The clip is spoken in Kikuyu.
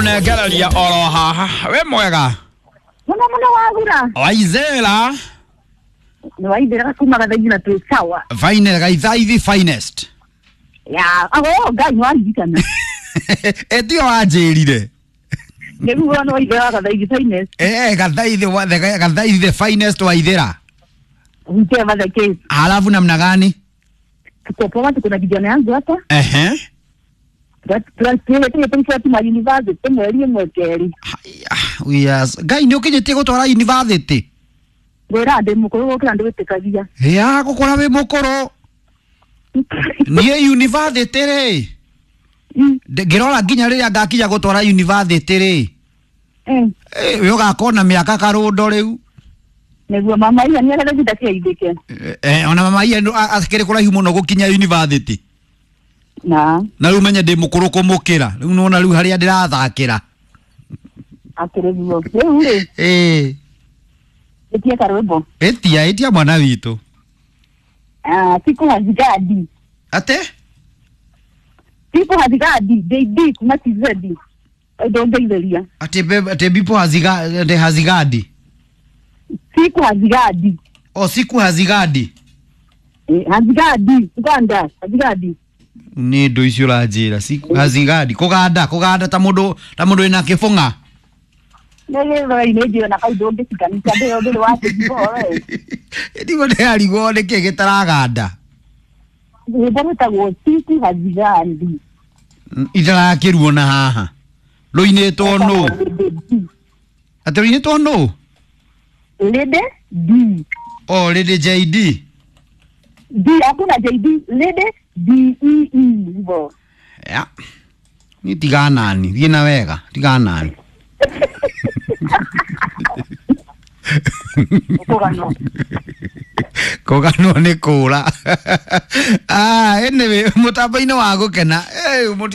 Ngũnengereria oro haha. We mwega. Muno muno wagura. Waizera. Nĩ waithĩraga kuma gathaigi na twĩ sawa. Fine gaithaithi finest. Ya, ago Ngai nĩwaririkana. Etio wanjĩrire. Nĩguo nĩ waithĩraga gathaigi finest. Eh, gathaithi wa gathaithi the finest waithĩra. Whichever the case. Halafu namna gani? Tuko poa, tuko na kijana yangu hapa. Ehe. Tuwa university mweri ĩmwe kerĩ. Haya, yes. Ngai nĩ ũkinyĩtie gũtwara university. Ngwĩra ndĩ mũkũrũ gũkĩra ndĩwĩtĩkagia. Ya gũkũra wĩ mũkũrũ. Niĩ university rĩ. Ngĩrora nginya rĩrĩa ngakinya gũtwara university rĩ. Eh. We ũgakorwo na mĩaka karũndo rĩu. Nĩguo mama iya nĩ arenda ndakĩaithĩke. Eh, ona mama iya akĩrĩ kũraihu mũno gũkinya university. Na Na rĩu menye ndĩ mũkũrũ kũmũkĩra. Rĩu nĩwona rĩu harĩa ndĩrathakĩra. akĩrĩ guo. Rĩu rĩ, Ĩĩ. ĩtie karwĩmbo. Ĩtia, ĩtia mwana witũ. Ah, siku hazigadi. Ate? Siku hazigadi, JD kuma TZ. Ndongeithĩria. Ate be, ate bipo haziga, ate hazigadi. Siku hazigadi. O siku hazigadi. Eh, hazigadi, Uganda, hazigadi. Nĩ ndũ icio ũranjĩra. Siku hazigadi. Kũganda, kũganda ta mũndũ wĩna kĩbũng'a. Nĩ njĩra na kau ndũngĩcikanĩria ndĩyo ndĩrĩ wa we. Ndiguo ndĩrarigwo nĩkĩ gĩtaraganda. Rwĩmbo rwĩtagwo siku hazigadi. Itarakĩruo na haha. Rũinĩtwo nũ? Atĩ rũinĩtwo nũ? Lede D. O Lady JD. D hakuna JD, Lede D E E hivyo. Ya. Ni tiga nani, thiĩ na wega, tiga nani. Ũkũganwo. Kũganwo nĩ kũra. Ah, anyway, mũtambo-inĩ wa gũkena. Eh,